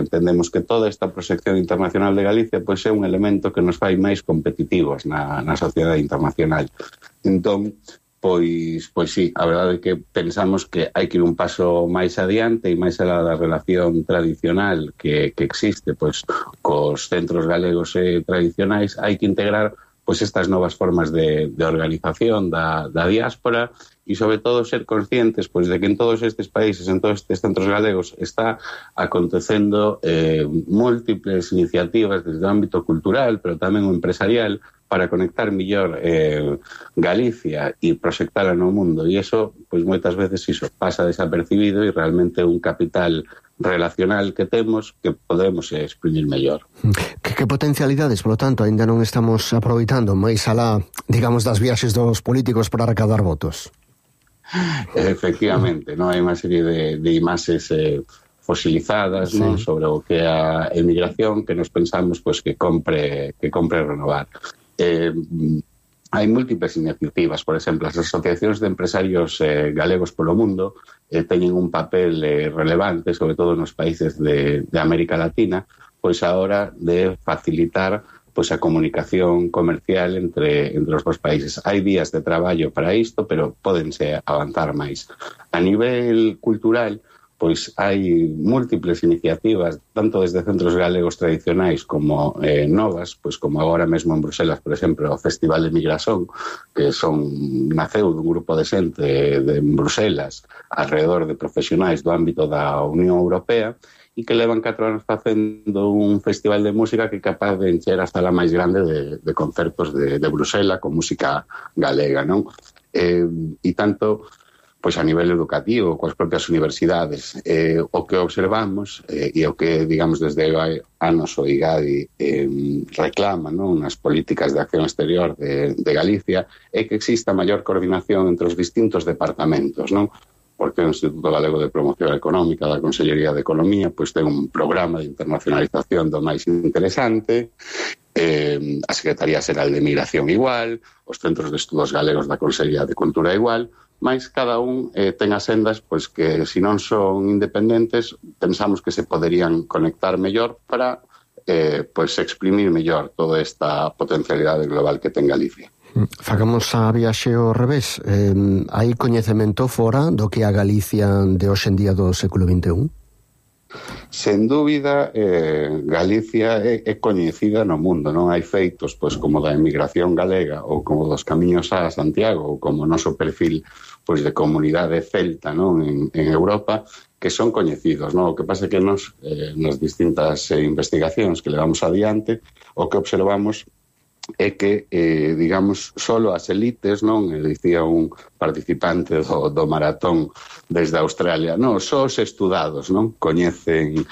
entendemos que toda esta proxección internacional de Galicia pois é un elemento que nos fai máis competitivos na sociedade internacional. Entón, pois sí, a verdade é que pensamos que hai que ir un paso máis adiante e máis alá da relación tradicional que existe pois cos centros galegos tradicionais, hai que integrar pois estas novas formas de organización da diáspora e sobre todo ser conscientes pois de que en todos estes países, en todos estes centros galegos está acontecendo múltiples iniciativas desde o ámbito cultural, pero tamén o empresarial, para conectar millor Galicia e proxectala no mundo. E iso, pois moitas veces iso pasa desapercibido e realmente un capital relacional que temos que podemos exprimir mellor. Que potencialidades, polo tanto, ainda non estamos aproveitando máis alá, digamos, das viaxes dos políticos para recaudar votos? Efectivamente, non hai unha serie de imaxes fosilizadas, sí, non, sobre o que é a emigración que nos pensamos pois que compre renovar. Hai múltiples iniciativas, por exemplo, as asociacións de empresarios galegos polo mundo teñen un papel relevante, sobre todo nos países de América Latina, pois a hora de facilitar pois a comunicación comercial entre os dos países. Hai días de traballo para isto, pero pódense avanzar máis. A nivel cultural, pois hai múltiples iniciativas, tanto desde centros galegos tradicionais como novas, pois como agora mesmo en Bruselas, por exemplo, o Festival de Migrasón, que naceu dun grupo de xente en Bruselas alrededor de profesionais do ámbito da Unión Europea e que levan 4 anos facendo un festival de música que é capaz de encher a sala máis grande de concertos de Bruselas con música galega, non? E tanto pois a nivel educativo, coas propias universidades. O que observamos e o que, digamos, desde anos o IGADI reclama, non, nas políticas de acción exterior de Galicia é que exista maior coordinación entre os distintos departamentos, non? Porque o Instituto Galego de Promoción Económica da Consellería de Economía pois ten un programa de internacionalización do máis interesante, a Secretaría Xeral de Migración igual, os Centros de Estudos Galegos da Consellería de Cultura igual, mas cada un ten as sendas pois que, se non son independentes, pensamos que se poderían conectar mellor para pois exprimir mellor toda esta potencialidade global que ten Galicia. Facamos a viaxe ao revés. Hai coñecemento fora do que a Galicia de hoxe en día do século XXI? Sen dúbida, Galicia é coñecida no mundo, non hai feitos pois como da emigración galega ou como dos camiños a Santiago ou como o noso perfil pois de comunidade celta, non, en Europa, que son coñecidos, non? O que pasa é que nas distintas investigacións que levamos adiante, o que observamos é que, digamos, solo as elites, non? Dicía un participante do maratón desde Australia, non, só os estudados, non? Coñecen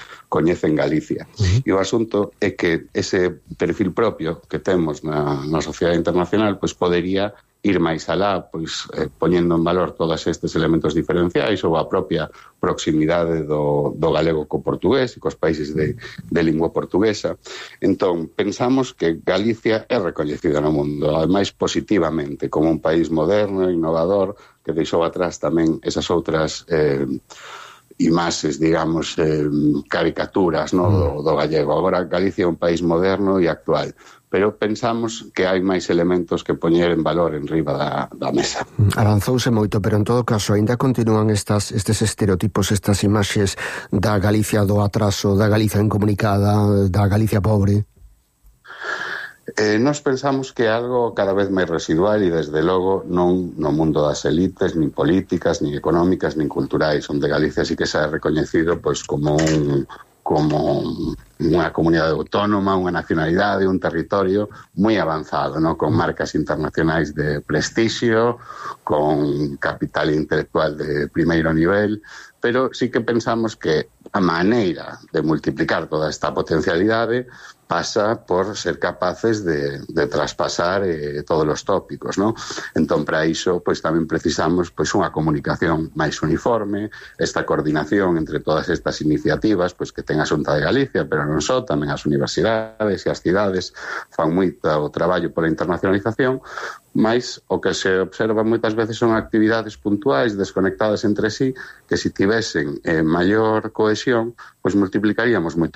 Galicia. E o asunto é que ese perfil propio que temos na sociedade internacional, pois podería ir máis alá, pois poñendo en valor todos estes elementos diferenciais ou a propia proximidade do galego co portugués e cos países de lingua portuguesa. Entón, pensamos que Galicia é recoñecida no mundo, ademais positivamente, como un país moderno, innovador, que deixou atrás tamén esas outras imaxes, digamos, caricaturas, no, do gallego. Agora Galicia é un país moderno e actual, pero pensamos que hai máis elementos que poñer en valor en riba da mesa. Avanzouse moito, pero en todo caso ainda continúan estes estereotipos, estas imaxes da Galicia do atraso, da Galicia incomunicada, da Galicia pobre. Nós pensamos que é algo cada vez máis residual e desde logo non no mundo das elites, nin políticas, nin económicas, nin culturais, onde Galicia sí que se ha reconhecido pois como unha comunidade autónoma, unha nacionalidade, un territorio moi avanzado, ¿no? Con marcas internacionais de prestixio, con capital intelectual de primeiro nivel, pero sí que pensamos que a maneira de multiplicar toda esta potencialidade pasa por ser capaces de traspasar todos os tópicos, ¿no? Entón, para iso, pois tamén precisamos pois unha comunicación máis uniforme, esta coordinación entre todas estas iniciativas, pois que ten a Xunta de Galicia, pero non só, tamén as universidades e as cidades fan moito o traballo pola internacionalización, mais o que se observa moitas veces son actividades puntuais desconectadas entre sí que se tivesen maior cohesión, pois multiplicaríamos moito